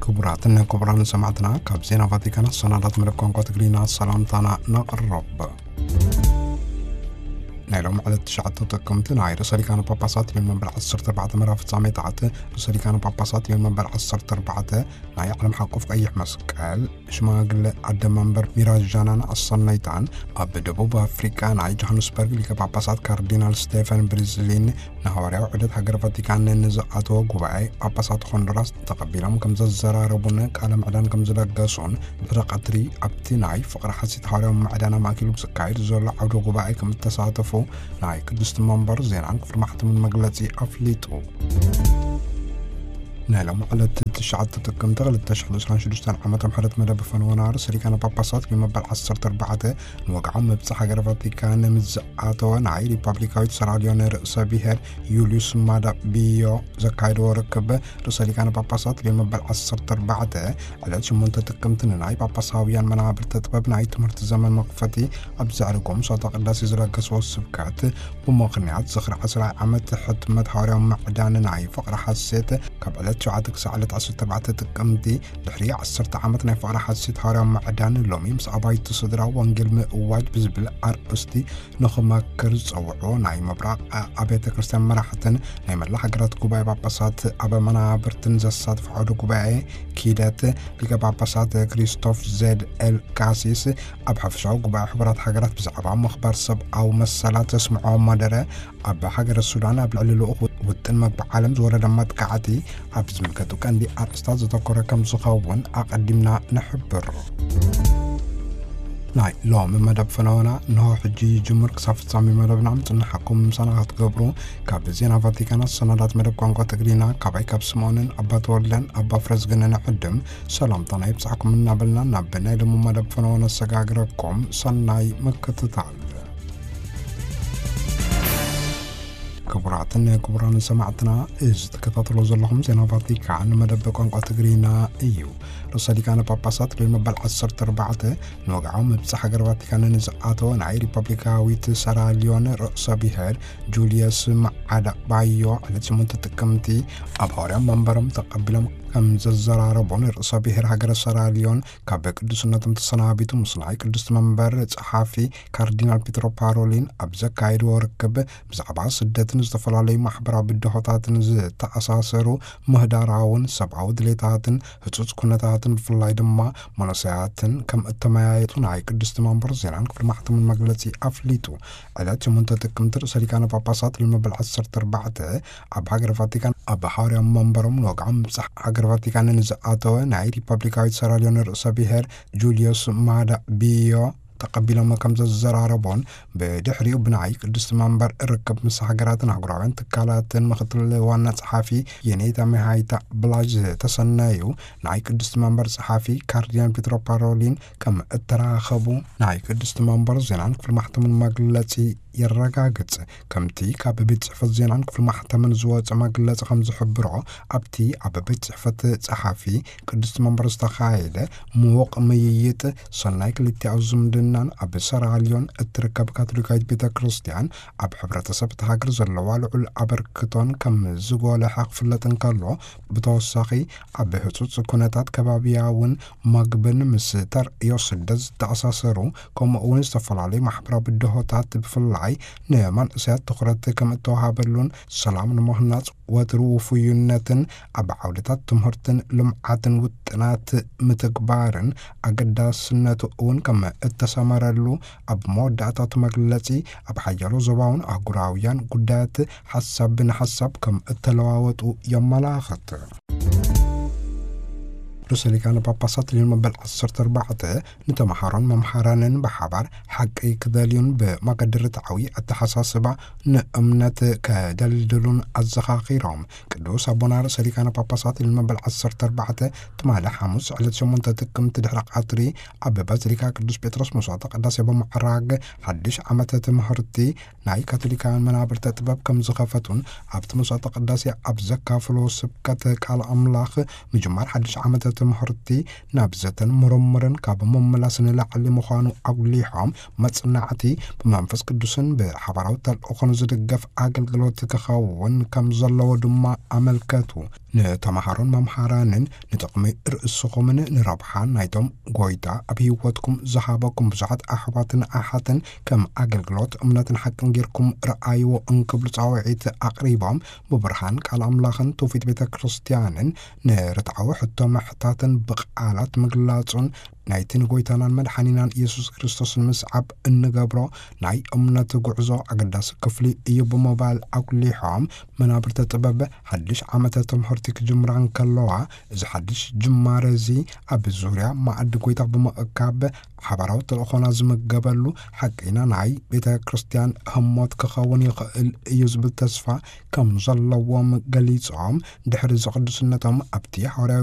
ክቡራትን ክቡራን ሰማዕትና፣ ካብ ዜና ቫቲካን ሰናዳት መደብ ቋንቋ ትግርኛ ሰላምታና ነቕርብ። ናይ ሎም ዕለት ትሽዓተ ጥቅምቲ ናይ ርእሰ ሊቃነ ጳጳሳት ልዮን መበል ዓሰርተ ኣርባዕተ መርሃ ፍጻሜታት ርእሰ ሊቃነ ጳጳሳት ልዮን መበል ዓሰርተ ኣርባዕተ ናይ ዓለም ሓቆፍ ቀይሕ መስቀል ሽማግለ ኣደ መንበር ሚራጃናን ኣሰነይታን ኣብ ደቡብ ኣፍሪቃ ናይ ጆሃንስበርግ ሊቀ ጳጳሳት ካርዲናል ስቴፈን ብሪዝሊን ንሃዋርያዊ ዑደት ሃገረ ቫቲካን ንዝኣተወ ጉባኤ ጳጳሳት ሆንዱራስ ተቐቢሎም ከም ዘዘራረቡን ቃለ ምዕዳን ከም ዝለገሱን ድሕሪ ቀትሪ ኣብቲ ናይ ፍቕሪ ሓሲት ሃዋርያዊ ምዕዳን ኣማእኪሉ ብዝካየድ ዘሎ ዓውደ ጉባኤ ከም እተሳተፉ ናይ ቅድስቲ መንበር ዜናን ክፍሊ ማሕተምን መግለጺ ኣፍሊጡ። ናይ ሎም ዕለት ትሽዓተ ጥቅምቲ ክልተ ሽሕን ዕስራን ሽዱሽተን ዓመተ ምሕረት መደብ ፈነወና ርእሰ ሊቃነ ጳጳሳት ልዮን መበል ዓሰርተ ኣርባዕተ ንወግዓዊ መብጽዓ ሃገረ ቫቲካን ምስ ዝኣተወ ናይ ሪፐብሊካዊት ሰራልዮን ርእሰ ብሔር ዩልዩስ ማዳ ቢዮ ዘካየድዎ ርክብ ርእሰ ሊቃነ ጳጳሳት ልዮን መበል ዓሰርተ ኣርባዕተ ዕለት ሸሞንተ ጥቅምቲ ንናይ ጳጳሳውያን መናብርተ ጥበብ ናይ ትምህርቲ ዘመን መኽፈቲ ኣብ ዘዕርጎም ሶታ ቅዳሴ ዝለገስዎ ስብከት ብምኽንያት ዝኽሪ ዓስራይ ዓመት ሕትመት ሃዋርያዊ ምዕዳን ናይ ፍቕሪ ሓሴት ካብ ዕለት ሸውዓተ ክሳዕ ዕለት ዓሰርተ ኣርባዕተ ጥቅምቲ ድሕሪ ዓሰርተ ዓመት ናይ ፍቕሪ ሓሴት ሃዋርያዊ ምዕዳን ሎሚ ምስ ኣባይቲ ስድራ ወንጌል ምእዋጅ ብዝብል ኣርእስቲ ንኽመክር ዝጸውዑ ናይ ምብራቕ ኣብያተ ክርስቲያን መራሕትን ናይ መላ ሃገራት ጉባኤ ጳጳሳት ኣብ መናብርትን ዘሳትፍ ዓውደ ጉባኤ ኪደት ሊቀ ጳጳሳት ክሪስቶፍ ዜድ ኤል ካሲስ ኣብ ሓፈሻዊ ጉባኤ ሕቡራት ሃገራት ብዛዕባ ምኽባር ሰብኣዊ መሰላት ዘስምዖ መደረ ኣብ ሃገረ ሱዳን ኣብ ልዕሊ ልኡኽ ውጥን መግቢ ዓለም ዝወረደ መጥቃዕቲ ኣብ ዝምልከቱ ቀንዲ ኣርእስታት ዘተኮረ ከም ዝኸውን ኣቐዲምና ንሕብር። ናይ ሎም መደብ ፈነወና እንሆ ሕጂ ይጅምር። ክሳብ ፍጻሜ መደብና ምጽንሓኩም ምሳና ክትገብሩ ካብ ዜና ቫቲካን ሰናዳት መደብ ቋንቋ ትግርኛ ካባይ ካብ ስምኦንን ኣባ ተወልደን ኣባ ፍረዝግንን ዕድም ሰላምታና ይብጻሕኩም እናበልና ናብ ናይ ሎም መደብ ፈነወ ነሰጋግረኩም። ሰናይ ምክትታል። ክቡራትን ክቡራን ሰማዕትና፣ እዚ ትከታተሎ ዘለኹም ዜና ቫቲካን መደብ ቋንቋ ትግርኛ እዩ። ርእሰ ሊቃነ ጳጳሳት ልዮን መበል ዓሰርተ ኣርባዕተ ንወግዓዊ መብጽዓ ሃገር ቫቲካን ንዝኣተወ ናይ ሪፐብሊካዊት ሰራልዮን ርእሰ ብሔር ጁልየስ መዓዳ ባዮ ዕለት ሸሞንተ ጥቅምቲ ኣብ ሃዋርያዊ መንበሮም ተቐቢሎም ከም ዘዘራረቦን ርእሰ ብሔር ሃገረ ሰራልዮን ካብ ቅዱስነቶም ተሰናቢቱ ምስ ናይ ቅድስቲ መንበር ጸሓፊ ካርዲናል ፒትሮ ፓሮሊን ኣብ ዘካየድዎ ርክብ ብዛዕባ ስደትን ዝተፈላለዩ ማሕበራዊ ብድሆታትን ዝተኣሳሰሩ ምህዳራውን ሰብኣዊ ድሌታትን ህጹጽ ኩነታትን ብፍላይ ድማ መንእሰያትን ከም እተመያየጡ ናይ ቅድስቲ መንበር ዜናን ክፍሊ ማሕተምን መግለጺ ኣፍሊጡ። ዕለት ሸሞንተ ጥቅምቲ ርእሰ ሊቃነ ጳጳሳት ልዮን መበል ዓሰርተ ኣርባዕተ ኣብ ሃገረ ቫቲካን ኣብ ሃዋርያዊ መንበሮም ንወግዓዊ ምብጻሕ ሃገረ ቫቲካን ንዝኣተወ ናይ ሪፐብሊካዊት ሰራልዮን ርእሰ ብሔር ጁልዮስ ማዳ ቢዮ ተቐቢሎም ከም ዘዘራረቦን ብድሕሪኡ ብናይ ቅድስቲ መንበር ርክብ ምስ ሃገራትን ኣህጉራውያን ትካላትን ምክትል ዋና ጸሓፊ የኔታ ሚሃይታ ብላጅ ዝተሰነዩ ናይ ቅድስቲ መንበር ጸሓፊ ካርዲናል ፒትሮ ፓሮሊን ከም እተራኸቡ ናይ ቅድስቲ መንበር ዜናን ክፍሊ ማሕተምን መግለጺ የረጋግጽ። ከምቲ ካብ ቤት ጽሕፈት ዜናን ክፍሊ ማሕተምን ዝወጸ መግለጺ ከም ዝሕብሮ፣ ኣብቲ ኣብ ቤት ጽሕፈት ጸሓፊ ቅድስቲ መንበር ዝተኻየደ ምዉቕ ምይይጥ፣ ሰናይ ክልቲኣዊ ዝምድናን ኣብ ሰራልዮን እትርከብ ካቶሊካዊት ቤተ ክርስቲያን ኣብ ሕብረተሰብ እታ ሃገር ዘለዋ ልዑል ኣበርክቶን ከም ዝጎልሐ ክፍለጥ እንከሎ፣ ብተወሳኺ ኣብ ህጹጽ ኩነታት ከባብያውን መግብን ምስ ተርእዮ ስደት ዝተኣሳሰሩ፣ ከምኡ እውን ዝተፈላለዩ ማሕበራዊ ብድሆታት ብፍላይ ንመንእሰያት ትኹረት ከም እተዋሃበሉን ሰላም ንምህናጽ ወትሩ ውፉይነትን ኣብ ዓውድታት ትምህርትን ልምዓትን ውጥናት ምትግባርን ኣገዳስነቱ እውን ከም እተሰመረሉ ኣብ መወዳእታቱ መግለጺ ኣብ ሓያሎ ዞባውን ኣህጉራውያን ጉዳያት ሓሳብ ብንሓሳብ ከም እተለዋወጡ የመላኽት። ርእሰ ሊቃነ ጳጳሳት ልዮን መበል ዓሰርተ ኣርባዕተ ንተምሃሮን መምሃራንን ብሓባር ሓቂ ክደልዩን ብመገዲ ርትዓዊ ኣተሓሳስባ ንእምነት ከደልድሉን ኣዘኻኺሮም። ቅዱስ ኣቦና ርእሰ ሊቃነ ጳጳሳት ልዮን መበል ዓሰርተ ኣርባዕተ ትማሊ ሓሙስ ዕለት ሸሞንተ ጥቅምቲ ድሕሪ ቀትሪ ኣብ ባዚሊካ ቅዱስ ጴጥሮስ መስዋዕተ ቅዳሴ ብምዕራግ ሓድሽ ዓመተ ትምህርቲ ናይ ካቶሊካውያን መናብርተ ጥበብ ከም ዝኸፈቱን ኣብቲ መስዋዕተ ቅዳሴ ኣብ ዘካፍሎ ስብከት ቃል ኣምላኽ ምጅማር ሓድሽ ዓመተ ትምህርቲ ናብ ዘተን ምርምርን ካብ ምምላስ ንላዕሊ ምዃኑ ኣጉሊሖም፣ መጽናዕቲ ብመንፈስ ቅዱስን ብሓባራዊ ተልእኾን ዝድገፍ ኣገልግሎት ክኸውን ከም ዘለዎ ድማ ኣመልከቱ። ንተምሃሮን መምሃራንን ንጥቕሚ ርእስኹምን ንረብሓ ናይቶም ጎይታ ኣብ ህይወትኩም ዝሃበኩም ብዙሓት ኣሕዋትን ኣሓትን ከም ኣገልግሎት እምነትን ሓቅን ጌርኩም ረኣይዎ እንክብሉ ጻውዒት ኣቕሪቦም፣ ብብርሃን ቃል ኣምላኽን ትውፊት ቤተ ክርስቲያንን ንርትዓዊ ሕቶ ምሕታትን ብቓላት ምግላጹን ናይቲ ንጎይታናን መድሓኒናን ኢየሱስ ክርስቶስ ንምስዓብ እንገብሮ ናይ እምነት ጉዕዞ ኣገዳሲ ክፍሊ እዩ ብምባል ኣጉሊሖም፣ መናብርተ ጥበብ ሓድሽ ዓመተ ትምህርቲ ክጅምራ እንከለዋ፣ እዚ ሓድሽ ጅማረ እዚ ኣብ ዙርያ መኣዲ ጎይታ ብምእካብ ሓባራዊ ተልእኾና ዝምገበሉ ሓቂና ናይ ቤተ ክርስቲያን ህሞት ክኸውን ይኽእል እዩ ዝብል ተስፋ ከም ዘለዎም ገሊጾም፣ ድሕሪ እዚ ቅዱስነቶም ኣብቲ ሓዋርያዊ